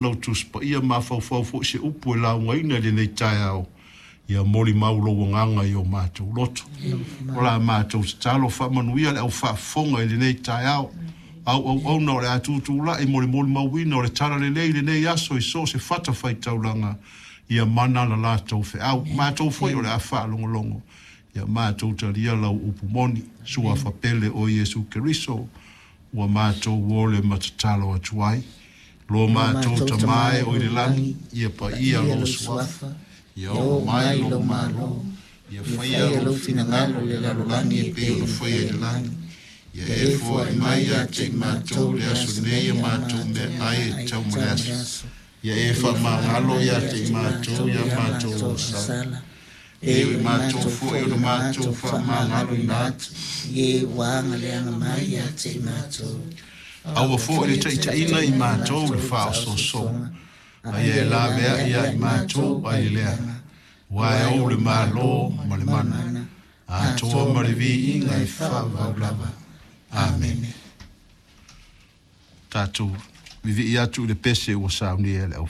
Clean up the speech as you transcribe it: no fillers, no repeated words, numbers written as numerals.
Lau Tusi Paia mafaufau foi se upu e laugaina i lenei taeao, ia molimau lou agaga i o matou loto. O la matou tatalo, faamanuia le au faafofoga i lenei taeao. Au auauna o le a tutulai mo le molimauina o le tala lelei i lenei aso i so o se fata faitaulaga, ia mana la latou feau. Matou foi o le a faalogologo, ia matou talia lau upu moni. Suafa pele o Iesu Keriso, ua matou ole ma tatalo atu ai. Lo matou Tama e o i le lagi, ia paia lou suafa, ia oo mai lou malo, ia faia lou finagalo i le lalolagi e pei ona faia i le lagi. Ia e foai mai ia te i matou le aso nei a matou meaai e tatau ma le aso. Ia e faamagalo ia te i matou ia matou agasala, e pei o matou foi ona matou faamagaloina atu i e ua agaleaga mai ia te i matou. Aua foi le taitaiina i matou i le faaosoosoga, a ia e laveai ia i matou ai le leaga, aua e ou le malo ma le mana, atoa ma le viiga e faavavau lava. Amene. Tatou vivii atu i le pese ua saunia e le au.